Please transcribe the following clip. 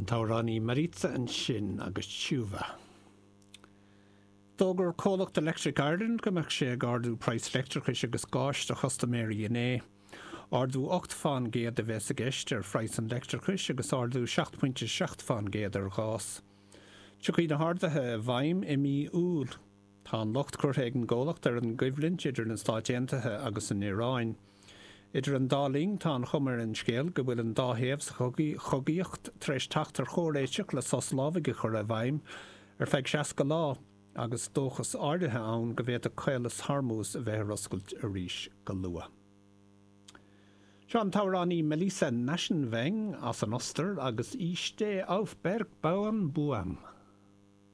An t-amhránaí Maritza ansin agus Tshuva. D'fhógair comhlacht Electric Ireland go mbeadh sé ag ardú praghas leictreachais agus gáis do chustaiméirí inné. Ardú 8 fán gcéad a bheas i gceist ar phraghas an leictreachais agus ardú 7.7 fán gcéad ar ghás. Tiocfaidh na harduithe i bhfeidhm i mí Iúil. Tá an locht curtha ag an gcomhlacht ar an gcoimhlint idir na Stáit Aontaithe agus an Iaráin. Idir an dá linn, tá an chuma ar an scéal go bhfuil an dá thaobh sa chogaíocht tar éis teacht ar chomhréiteach le sos lámhaigh a chur i bhfeidhm ar feadh 60 lá, agus dóchas áirithe ann go bhféadfadh Caolas Hormuz a bheith ar oscailt arís go luath. Seo an t-amhránaí Melissa Naschenweng as an Ostair agus Ich steh auf Bergbauernbuam.